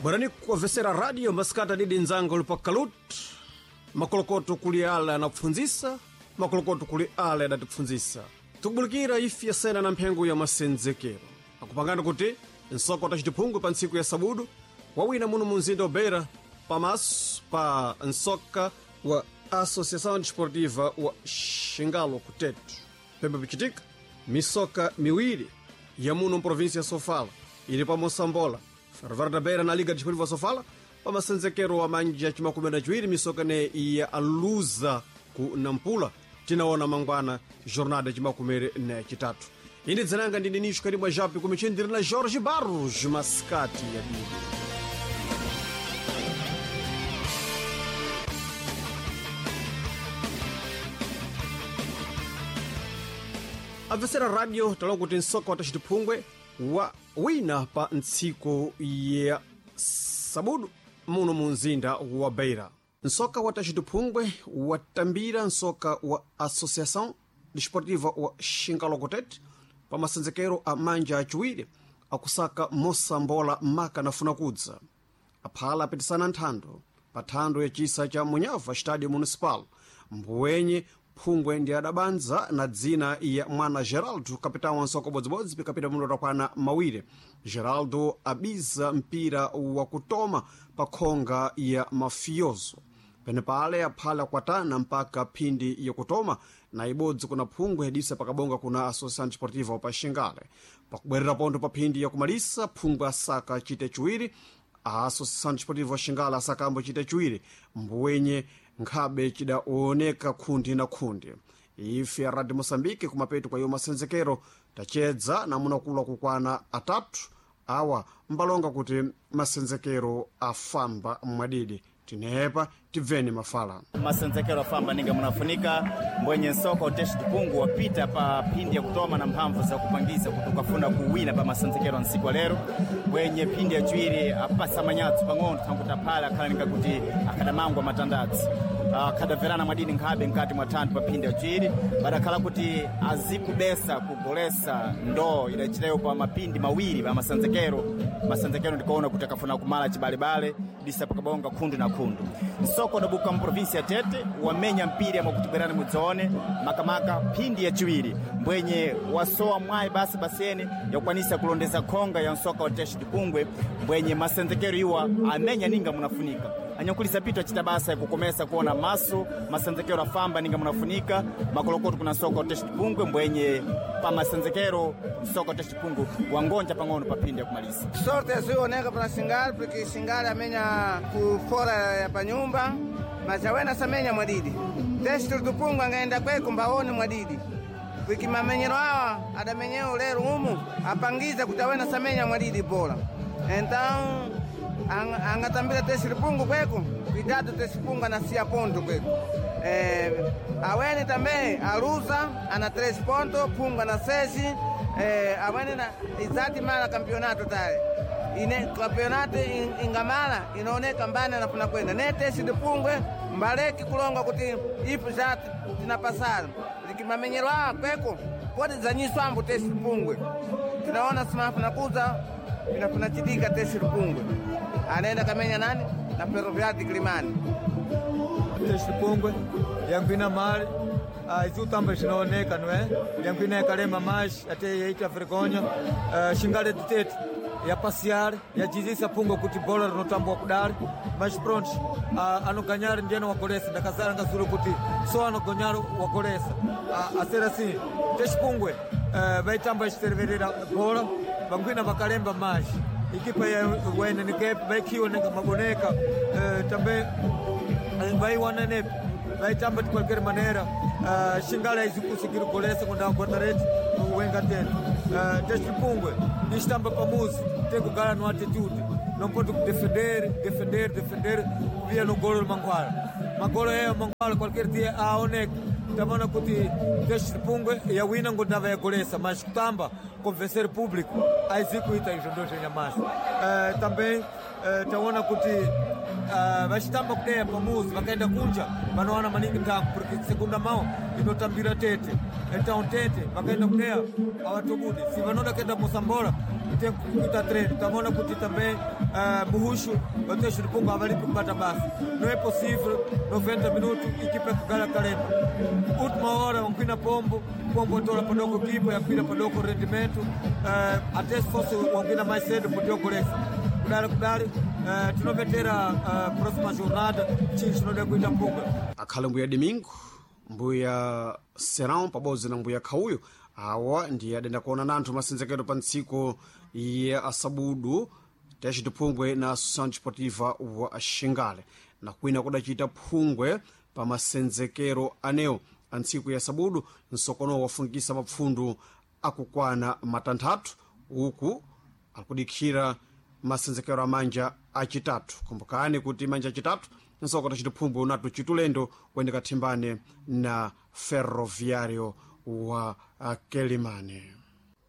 Bwerani kuwavesera radio masikati adidi nzanga uli pakalut makolokoto kuli ala anapfundzisa, makolokoto kuli ala adatipfundzisa. Tikubulikira ifi yasena na mphengo ya masenzekero akupangana kuti nsoko tacitiphungwe pa ntsiku ya sabudu wawina muno mu mzinda wa Beira pamaso pa nsoka wa Associação Desportiva wa Xingalo kutetu. Pembe pichitika misoka miwiri ya muno mprovinsia ya Sofala ili pa Mosambola, Ferroviário da Beira na Liga Desportiva Sofala pa masenzekero wa manja chimakumi na chiwiri misoka ne ya aluza ku Nampula tinaona mangwana jornada chimakumere na chitatu. Ine dzinanga ndine Nisho Karimwa Jape kumichendiri na Jorge Barros masikati ya dini. Abvesera radio talowa kuti msoka watacitiphungwe wa wina pa ntsiku ya sabudu muno mu mzinda wa Beira. Nsoka wa tacitiphungwe watambira nsoka wa Associação Desportiva wa Xingalokotete pa masenzekero a manja achiwiri akusaka mosambola maka nafuna kudza. Aphala apitisana nthando pa thando ya chisa cha Munyava Estádio Municipal mbuwenye phungwe ndi adabanza na dzina ya mwana Geraldo, kapitão wa nsoko bodzibodzi pikapita muno takwana mawiri. Geraldo abiza mpira wakutoma pa khonga ya mafioso penepale aphala kwatana mpaka phindi yakutoma na ibodzi kuna phungwe yadisa pakabonga kuna Associação Desportiva pa Xingale. Pakubwerera pontho pa phindi yakumalisa phungwe asaka chite chiwiri, a Associação Desportiva Xingale asakambo chite chiwiri, mbuwenye nkhabe chidaoneka khundi na khundi. Ife ya Radio Moçambique kumapeto kwa iyo masenzekero tachedza namunakula kukwana atatu awa mbalonga kuti masenzekero afamba mwadidi. Tinepa tibveni mafala. Masenzekero afamba ninga munafunika mbwenye nsoko uteshi tipungu wapita pa phindi ya kutoma na mphamvu za kupangiza kuti ukafuna kuwina pa masenzekero a ntsiku lero bwenye phindi ya chiwiri apasa manyatso pang'ono thankuti aphala akhala ninga kuti akadamangwa matandatsi akadamverana mwadini nkhabe mkati mwa thanthu pa phindi ya chiwiri badakhala kuti azikubesa kugolesa ndoo idachitayo pa mapindi mawiri pa masenzekero. Masenzekero ndikuona kuti akafuna kumala chibalebale disa pakabonga khundu na khundu. Nsoko udabuka mprovinsi ya Tete wamenya mpira mwakuti bwerani mudzaone makamaka phindi ya chiwiri mbwenye wasowa mwayi basi basene yakukwanisa kulondeza khonga ya nsoka wa Teshi Dipungwe mbwenye masenzekero iwa amenya ninga munafunika. Anyakulisa pito achita basa yakukomesa kuona maso masenzekero afamba ninga munafunika makolokoto kuna nsoka wa Teshi Dipungwe mbwenye pa masenzekero nsoka wa Teshi Dipungwe wangonja pang'ono pa phindi yakumalisa. Sorte azioneka para Xingale porque Xingale amenya ku fora ya panyumba mas awena samenya mwadidi. Teshi Dipungwe angaenda kweko mbaone mwadidi porque mamenyero awa adamenyeo lero umu apangiza kuti awena samenya mwadidi bola. Então angatambira Teshi Dipungwe kweko cuidado Teshi Dipungwe anasia ponto kweko. Awene também aluza ana 3 pontos, Punga na 6. Awene na izati mala campeonato tale ine campeonato ingamala inaoneka mbani anafuna kwenda ne Teshi Dipungwe mbaleki kulonga kuti ifu za tinapasana likimamenyero awa kweko podi zanyiswambo Teshi Dipungwe tinaona simafuna kuza pinafuna chitika Teshi Dipungwe anaenda kamenya nani na Ferroviário de Quilimane. Teshi Dipungwe yankwina mali izi utamba xinaoneka não é? Yankwina yakalema mais até yaita vergonha. Xingale de Tete ya passear yajizisa phungwe kuti bola rinotambwa kudali mas pronto anoganhar ndiyena wagolesa ndakazara ngazulu kuti só anoganhar wagolesa a ser assim Teshi Pungwe vaitamba ixiterverera bola vangwina vakalemba mais equipa ya wene nikepe vaikhiwa nenga maboneka também vaiwana nepe vaitamba de qualquer maneira. Xingale aizikusigiri golesa kunda guarda-redes wenga tete. Teshi Pungwe nistamba pamuzi tem que ganhar no atitude, não pode defender, defender, defender via no golo manguala magolo é manguala qualquer dia a onek tamana kuti Teshi Pungwe ya wina ngondava ya golesa mas kutamba convencer público aizikuita izvo ndo zvenyamasi. Também taona kuti vachitamba kudeya pamuzi vakaenda kunja vanowana maningi ntango porque segunda mão inotambira Tete. Então Tete vakaenda kudeya avatobudi si vanoda kuenda Mosambola. tem que treino. Tamona kuti também Muruxo, o Teixeira de Pungo avali kubata basi. Não é possível 90 minutos equipa kugala Kalema. Última hora wankwina pombo, pombo atola padoko equipa yakwina padoko rendimento, até se fosse wankwina mais cedo podia golesa. Kudale kudale tinovetera próxima jornada chinchi chinoda kuita mpunga. Akhale mbuya Domingo, mbuya Serão pabodzi na mbuya Khauyo awa ndiye adenda kuona nanthu masenzekero pa ntsiku ya asabudu taciti phungwe na Associação Desportiva wa Xingale na kwina kudacita phungwe pa masenzekero anewo a ntsiku ya sabudu nsokono wafungisa mapfundu akukwana matanthatu uku akudikhira masenzekero amanja acitatu. Kumbukani kuti manja acitatu nsoko taciti phungwe unatu citulendo kuyendeka thimbane na Ferroviário wa Quelimane.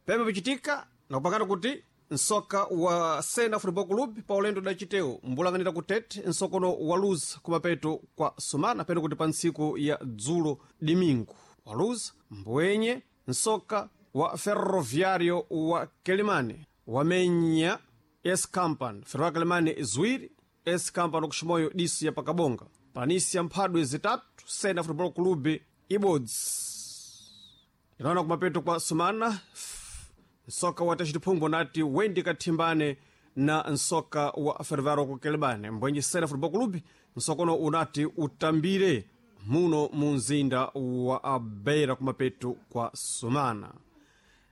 Pembe pichitika nakupangana kuti nsoka wa Sena Football Club pa ulendo udacitewo mbulanganira kutete nsokono waluza kumapeto kwa sumana pene kuti pa ntsiku ya dzulo dimingu waluza mbwenye nsoka wa Ferroviário wa Quelimane wamenya S Company Ferroviário Quelimane ziwiri S Company kuximoyo diso ya pakabonga panisi ya mphadwe zitatu Sena Football Club ibodzi inaona kumapeto kwa sumana nsoka wa tacitiphungu nati wendi kathimbane na nsoka wa Ferroviário ku Quelimane mbwenye Sena Football Club nsokono unati utambire muno mu mzinda wa Beira kumapeto kwa sumana.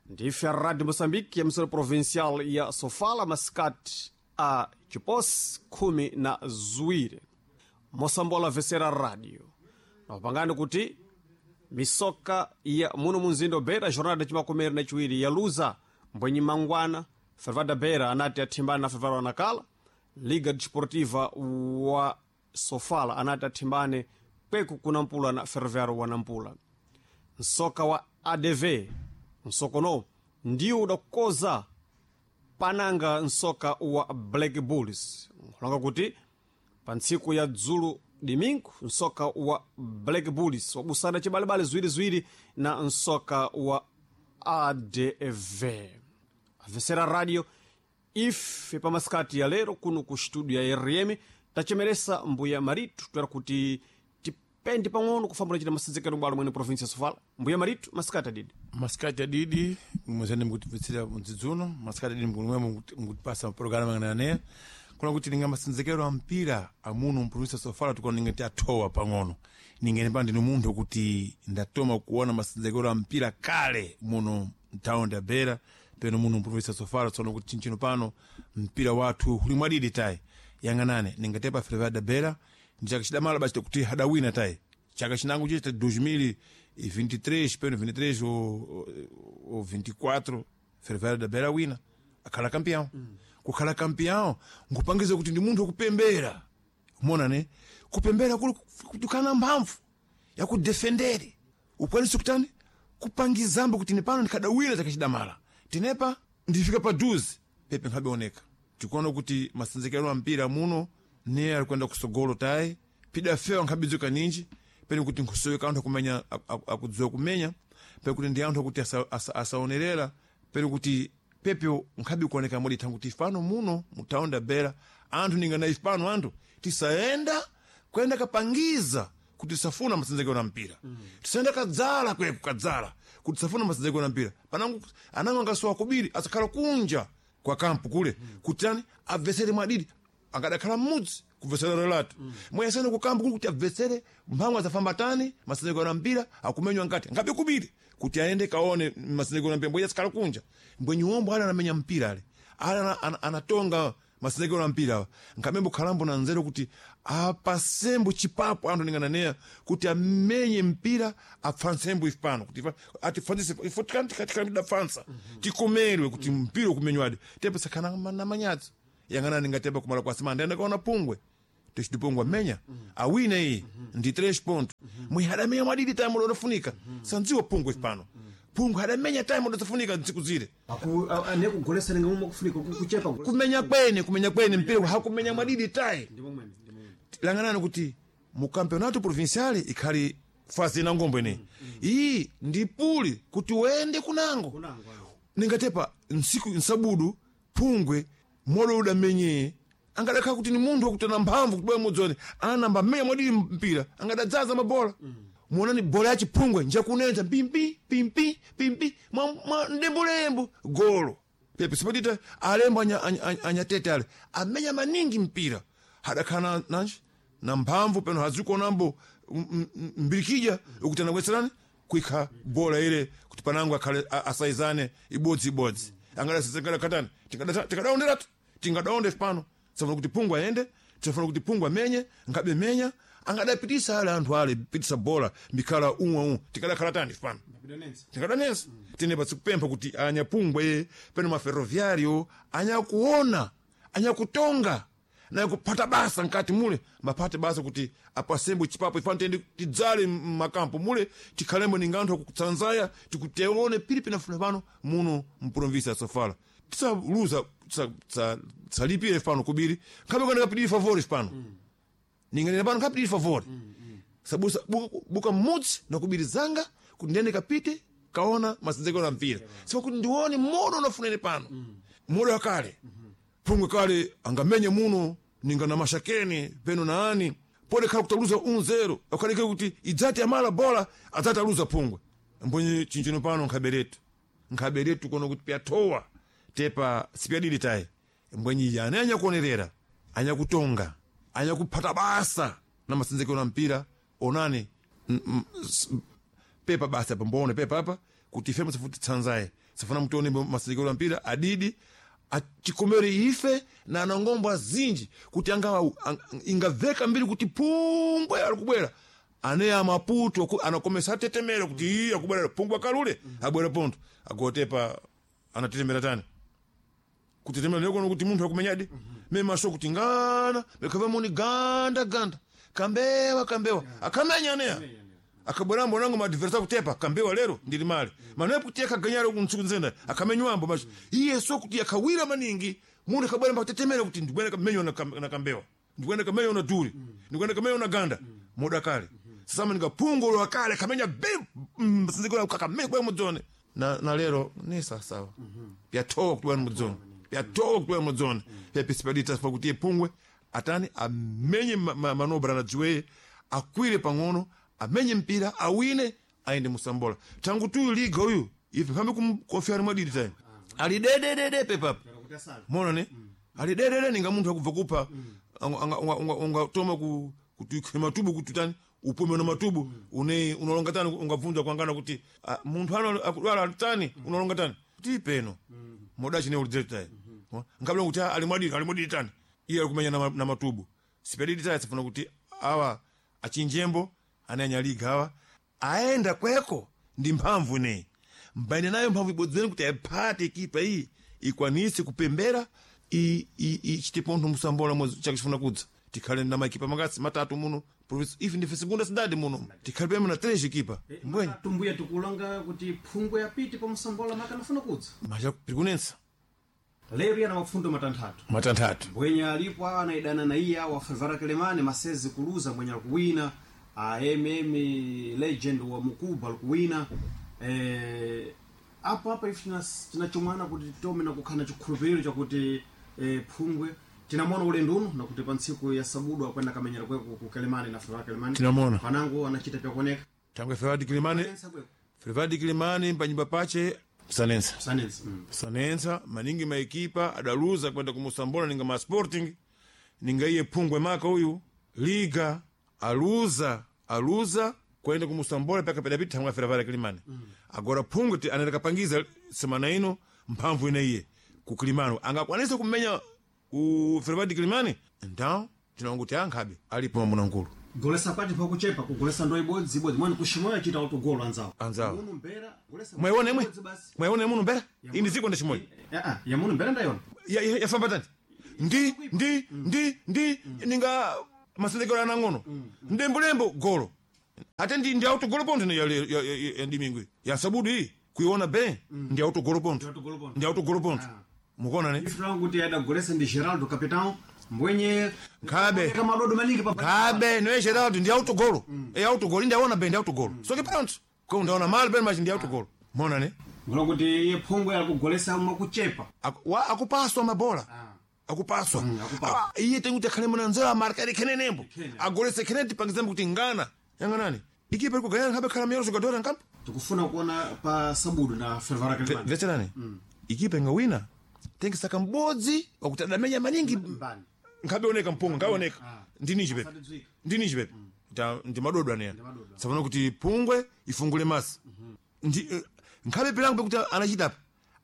Ndife Radio Moçambique ya msoro provincial ya Sofala masikati a chiposi 12 mosambola vesera radio nakupangani kuti misoka ya muno munzinda wa Beira jornada chimakomere na chiwiri ya luza mbwenyi mangwana Fervada Beira anati athimbane na Fervada Nakala. Liga Desportiva wa Sofala anati athimbane kweku kunampula na Ferroviário wa Nampula. Nsoka wa ADV nsokono ndiwo udakoza pananga nsoka wa Black Bulls nkulonga kuti pa ntsiku ya dzulu dimingu nsoka wa Black Bulls wabusana cibalebale ziwiriziwiri na nsoka wa ADV. Avesera radio ife pamasikati ya lero kuno ku studio ya RM tachemeresa mbuya Maritu twera kuti tipende pang'ono kufambula cita masenzekero bwalo mwene provinsi ya Sofala. Mbuya Maritu, masikati adidi. Masikati adidi mwezani mukutibvetsera mudzidzuno masikati adidi mkumwe mukutipasa programa ngananeya kuna kuti ninga masenzekero a mpira amuno mprovinsi Sofala tukona ninga tiathowa pang'ono ningene pa ndinu munthu kuti ndatoma kuona masenzekero a mpira kale muno mtawundi ya Beira peno muno mprovinsi Sofala tsono kuti chinchino pano mpira wathu uli mwadidi tayi yang'anane ningatepa Ferroviário da Beira ndi chaka chidamala basi kuti hadawina tayi chaka chinango chita 2023 peno 23 ou 24 Ferroviário da Beira wina akhala campeão. Kukhala campeão nkupangiza kuti ndi munthu wokupembera umona ne kupembera kuli kutukana mphamvu yakudefendere ukwanise kutani kupangizambo kuti nepano ndikadawina chakachidamala tinepa ndifika pa duzi pepe nkhabioneka tikuona kuti masenzekero a mpira muno ne ali kuenda kusogolo tayi pida fewa nkhabidzuka ninji pene kuti nkusoweka anthu akumenya akudziwa kumenya pene kuti ndi anthu akuti asaonerera asa pene kuti pepe nkhabi kuoneka modi thangu ifano muno mutawundi ya Beira anthu ningana ifano anthu tisayenda kuyenda kapangiza kuti tisafuna masenzekero na mpira. Tisayenda kadzala kweku kadzala kuti tisafuna masenzekero na mpira panangu anango angasowa kubiri asakhala kunja kwa kampu kule. Kuti ani abvesere mwadidi angadakhala mmudzi kubvesera relato. Mweyasene kukampu kuli kuti abvesere mphamvu azafamba tani masenzekero na mpira akumenywa nkati ngabe kubiri kuti aende kaone masenzekero na mpira mbwenye asikhala kunja mbwenye uombo ali anamenya mpira ale ali anatonga masenzekero na mpira awa nkamembo khalambo na nzeru kuti apasembo chipapo anthu ningananeya kuti amenye mpira apfansembo ife pano kuti atifanzise ifo tikanidapfansa tikomerwe kuti mpira ukumenywadi tepe sakhana na manyadzi yang'anani ngatepa kumala kwa simanda enda kaona pungwe texitipungwe amenya awina iyi ndi 3 ponto mwe hadamenya mwadidi time lodofunika sandziwa pungwe pano pungwe hadamenya time lodofunika ntsiku zile nekugolesa ninga mumwe kufunika kuchepa kumenya kwene kumenya kwene mpira hakumenya mwadidi tayi langanani kuti mu campeonato provincial ikhali fasi ina ngombo ineyi iyi ndi puli kuti uende kunango ningatepa nsiku nsabudu Pungwe modo udamenye angadakhala kuti ni munthu wakutana mphamvu kuti bwe mudzone anamba mmenya mwadili mpira angadadzaza mabola. Muonani bola ya chiphungwe njakunenza pimpi pimpi pimpi mwa ndembulembu golo pepe sipatita alembo anyatete ale amenya maningi mpira hadakhala nanji na mphamvu peno hazikuonambo mbirikija ukuti anabweserani kuikha bola ile kuti panango akhale asaizane ibodzi ibodzi angadakatani tikadaonderatu tingadaonde pano safuna kuti Phungwe ayende, safuna kuti Phungwe amenye ngabe menya angadapitisa ale anthu ale pitisa bola mbikhala umwe umwe tikadakhala tani pano tikadanensa. Tine patsikupempha kuti anyaphungwe peno maferroviario anyakuona anyakutonga naye kupata basa nkati mule mapate basa kuti apasembo chipapo ifano tiyende tidzale mmakampo mule tikhalembo ninga anthu akutsanzaya tikuteone pili pinafuna pano muno mprovinsi ya Sofala tisaluza tisalipire pano kubiri nkhabe kwenda kapitiri favori pano. Ninganena pano nkapitiri favori sabusa buka mmudzi nakubiri zanga kuti ndiyende kapite kaona masenzekero a mpira sipa kuti ndione modo unafunene pano modo wakale. Phungwe kale angamenye muno ninga na mashakeni peno na ani pole khala kutaluza 1-0 akhaleke kuti idzati amala bola adzati aluza Phungwe mbonye chinchino pano nkhaberetu nkhaberetu kono kuti pyathowa tepa sipyadili tayi mbwenyi ane anyakuonerera anyakutonga anyakuphata basa na masenzekero a mpira onani pepa basa pamboone pepa apa kuti ife msafuti tsanzaye sifuna mutione masenzekero a mpira adidi achikomere ife na anangombo azinji kuti anga ingaveka mbiri kuti Phungwe alikubwera ane amaputo anakomesa atetemera kuti iye akubwera Phungwe akalule abwera ponto agotepa anatetemera tani kutetemera ndiko kuti munthu akumenyadi me maso kuti ngana mekava muni ganda ganda kambewa kambewa akamenya aneya akabwerambo nango maadversa kutepa kambewa lero ndili mali manepo kuti akaganyala kuntsiku nzenda akamenywambo macho iye so kuti akawira maningi munthu akabwera mbakutetemera kuti ndibwera kamenywa na kambewa ndibwera kamenywa na duri ndibwera kamenywa na ganda moda kale sasa ninga Phungwe lo akale kamenya bim sinzikora kakamenya kwa mudzone na lero ni sawa pyathowa kuti bwana mudzone pyathowa kuti bwana mudzone pyapisipalita pa kuti Phungwe atani amenye manobra na dziweye akwire pang'ono amenye mpira awine ayende musambola tangu tuyu liga uyu ife pambe kumkonfiani mwadidi tayi ali dededede pepapa mona ne ali dedede ninga munthu akubva kupha ungatoma kuti matubu kuti tani upume na matubu une unalonga tani ungabvunza kwangana kuti munthu ano akudwala tani unalonga tani kuti peno moda chine ulidzeti tayi ngabla kuti ali mwadidi ali mwadidi tani iye alikumenya na matubu sipedidi tayi sifuna kuti awa achinjembo ananyaliga awa aenda kweko ndi mphamvu ineyi mbaine nayo mphamvu ibodzeni kuti ayiphate ikipa iyi ikwanise kupembera ichite pontho musambola mwezi chakchifuna kudza tikhale na makipa makasi matatu muno province ife ndife segunda cidade muno tikhale pema na três equipa mbwenye tumbuya tikulonga kuti Phungwe yapite pa musambola makanafuna kudza macha pirikunensa lero yana mafundo matanthatu matanthatu mbwenya alipo anaidana na iya wa Favara Kelemane masezi kuluza mbwenya alikuwina mm legend wa Mukuba alikuwina apo apa ife tinachomwana kuti tome na kukhala chikhulupiriro chakuti Phungwe tinamona ulendo uno nakuti pa ntsiku ya sabudu akwenda kamenyera kweko ku Kelemane na Favara Kelemane Tinamona. panango anachita pyakuoneka tangwe Fervadi Kilimani Fervadi Kilimani panyumba pache sanensa sanensa sanensa maningi maekipa adaluza kwenda kumusambola ninga ma Sporting ninga iye Phungwe maka uyu liga aluza aluza kwenda kumusambola paka pedapita thangwe Fervadi Kilimani. Agora Phungwe anaenda kapangiza semana ino mphamvu ine iye ku Kilimani angakwanisa kumenya ku Fervadi Kilimani então tinanguti ankhabe alipo mamuna nkulu golesa kwati pakuchepa kugolesa ndo ibodzi ibodzi mwani kushimoyo achita autogolo anzawo Anzawo. Muno mbera golesa mwayiona imwe ibodzi basi mwayiona muno mbera indi ziko ndachimoyo yamuno mbera ndayona yafamba tani ndi ndi ndi ndi ninga masendekero anang'ono ndembulembo golo ate ndi ndi autogolo pontho ya, ya, ya, ya ndimingwi ya sabudu iyi kuiona be ndi autogolo pontho autogolo pontho. ndi autogolo pontho mukuona ne ife tilangu kuti adagolesa ndi Geraldo capitão mbwenye Nkhabe. kamadodo maningi pa Kabe noye Geraldo ndi autogolo e autogolo ndi aona be ndi autogolo soke pronto ko ndaona mali ben machi ndi autogolo mona ne Ngola kuti iye phungwe akugolesa mwakuchepa. Akupaswa mabola. Akupaswa. Akupaswa. Ah, iye tenguti akhale munanzera amarka khenenembo. Agolese khene tipangizambo kuti ngana. Yanganani. Ikipa iri kugayana nkhabe khala miyoro jogadora nkampo. Tikufuna kuona pa sabudu na Fervara Kalimani. Vetserani. Ikipa ingawina. Tengesaka m'bodzi wakuti adamenya maningi. Mbani. Nkhabe oneka mpunga, nkhabe oneka. Ndini chipepe. Asatidzwika. Ndini chipepe. Ndi madodo aneya. Tsapano kuti pungwe ifungule masi. Ndi nkhabe pilango pekuti anachitapa.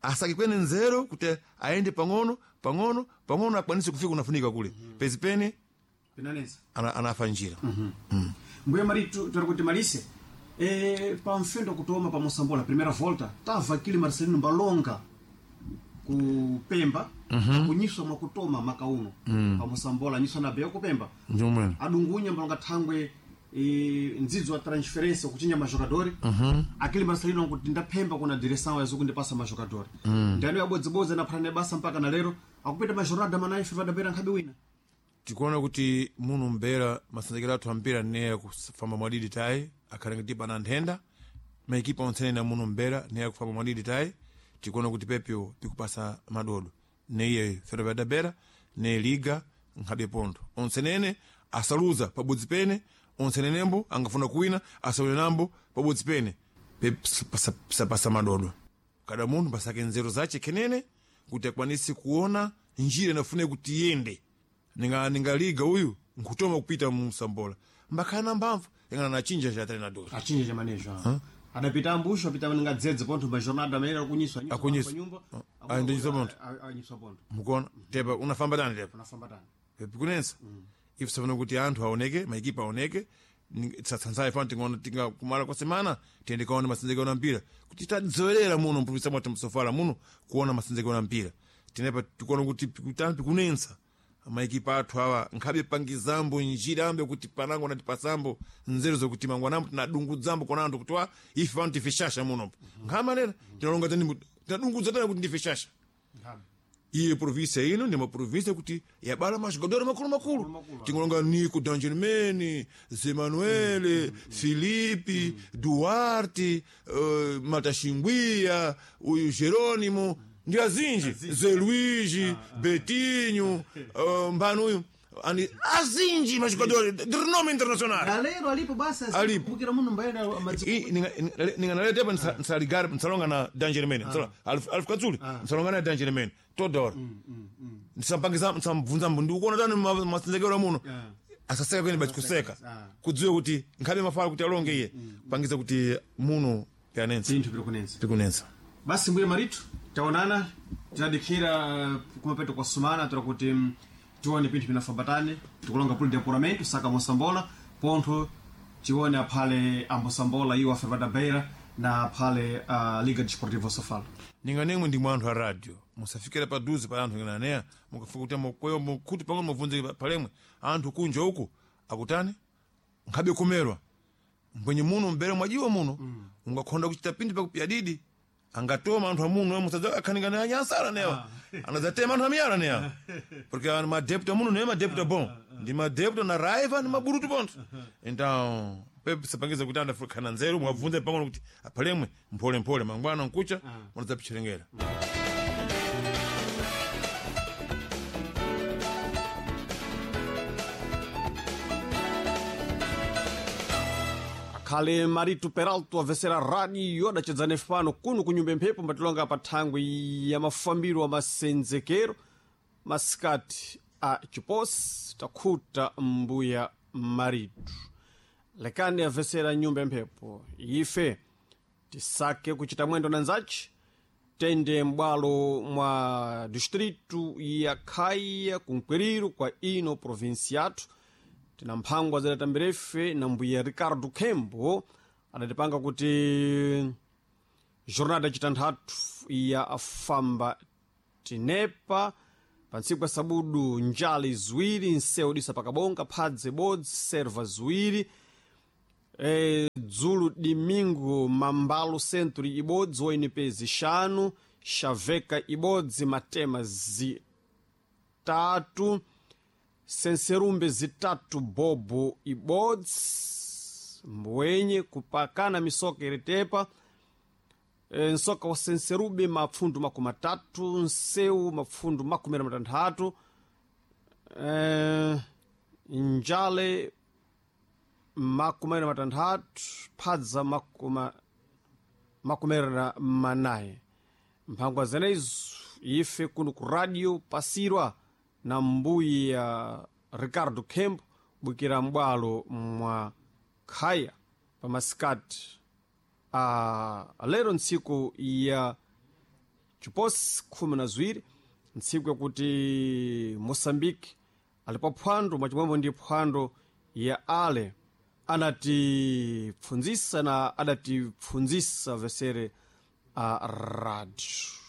Asake kwene nzero kuti aende pang'ono pang'ono pang'ono akwanise kufika unafunika kule. Pezi pene Pinanesa. anafa njira. Mbuya Maritu tari kuti malise. Pa mfendo kutoma pa Mosambola primeira volta tava kili Marcelino Mbalonga kupemba kunyiswa mwakutoma maka uno pa Mosambola anyiswa na beyo kupemba Ndiomwene. adungunya mbalonga thangwe ndzidzo wa transferência kuchinja majogadori akili Marcelino kuti ndaphemba kuna direção yazokundipasa majogadori ndani yabodzibodzi anaphana basa mpaka na lero akupita majorada manaife vadapera nkhabe wina Tikuona kuti muno mbera masenzekero athu ampira neya kufamba mwadidi tayi akhale ngati pana nthenda maekipa onse na muno mbera neya kufamba mwadidi tayi tikuona kuti pepyo pikupasa madodo neiye Ferroviária da Beira ne liga nkhabe pontho onsenene asaluza pabodzi pene onsenenembo angafuna kuwina asawine nambo pabodzi pene sapasa madodo kada munthu pasake nzeru zace khenene kuti akwanise kuona njira inafune kuti iyende ningaliga uyu nkutoma kupita mu Msambola mbakhala na mphamvu ingana nachinja cha treinador achinja cha manejo adapita ambusho apita ningadzedze pontho majornada amene akunyiswa Akunyiswa. nyumba Ah, ndinyiswa pontho. anyiswa pontho mukuona tepa unafamba tani tepa unafamba tani pikunensa ife safuna kuti anthu aoneke maikipa aoneke tisatsanzaye fana tingaona tinga kumala kwa semana tiyende kaona masenzekero na mpira kuti tadzowerera muno mpulumisa mwathu msofala muno kuona masenzekero na mpira tinepa tikuona kuti pikutani pikunensa maikipa athu awa nkhabe pangizambo njira ambe kuti panango natipasambo nzeru zokuti mangwanambo tinadungudzambo kona anthu kuti wa ife pano tife shasha munopo nkhamanera tinalonga tani tinadungudza tani kuti ndife shasha iye província ino ndi maprovíncia kuti yabala majogadores makulu makulu tingolonga Nico Dangermene Zé Manuel Felipe Duarte Matachingwia uyu Jerônimo ndi azinji Zé Luigi Betinho mbani uyu ani azinji majogadores de renome internacional na lero alipo basi Alipo. kumbukira muno mbayenda madziko ninganaletepa nsaligara nsalonga na Dangermene alfu katsuli nsalonga na Dangermene toda hora nsampangiza nsamvunza mbu ndikuona tani masenzekero muno asaseka kwene basi kuseka kudziwe kuti nkhabe mafala kuti alonge iye pangiza kuti muno pianensa zinthu piri kunensa pikunensa basi mbuye Maritu taonana tinadikhira kumapeto kwa sumana tora kuti tione pinthu pinafambatane tikulonga puli depuramento saka Mosambola pontho tione aphale ambosambola iwo a Ferroviária da Beira na aphale Liga Desportiva Sofala ninganemwe ndimwe anthu a radio musafikira paduze pa anthu ngananeya mukafika kuti mukweyo mukuti pang'ono mubvunze palemwe anthu kunja uku akutani nkhabe kumerwa mbwenye muno mbere mwajiwa muno ungakhonda kuchita pindi pakupya didi angatoma anthu amuno musadza akhaningana anyansala newa anadzatema anthu amiyala newa porque madepto amuno ne madepto bom ndi madepto na raiva ndi maburutu pontho então pepe sapangiza kuti anthu akhana nzeru mwabvunze pang'ono kuti aphalemwe mpholemphole mangwana nkucha munadzapitcherengera akhale Marito Peralto avesera radio adachedzana pano kuno kunyumba mphepo mbatilonga pa thangwi ya mafambiro a masenzekero masikati a chiposi takhuta mbuya Maritu lekani avesera nyumba ya mphepo ife tisake kuchita mwendo na nzachi tende m'bwalo mwa distritu ya Khaya kunkwiriro kwa ino provinsi yathu tina mphangwa zidatambirefe na mbuya Ricardo Kembo adatipanga kuti jornada yacitanthatu ya afamba tinepa pa ntsiku ya sabudu njali ziwiri nsewu disa pakabonga phadze bodzi serva ziwiri dzulu dimingo mambalo century ibodzi onp zixanu xaveka ibodzi matema zitatu senserumbe zitatu bobo ibodzi mbwenye kupakana misoka iritepa. Nsoka wa Senserube mapfundu 30, Nseu mapfundu 16, Njale 26, Phadza 44. Mphangwa zenezo ife kuno ku radio pasirwa na mbuyi ya Ricardo Kembo bwikira m'bwalo mwa Khaya pamasikati a lero, ntsiku ya chiposi 12, ntsiku yakuti Moçambique ali pa phwando mwachimwemwe ndi phwando ya ale anatipfundzisa na adatipfundzisa vesere a radio.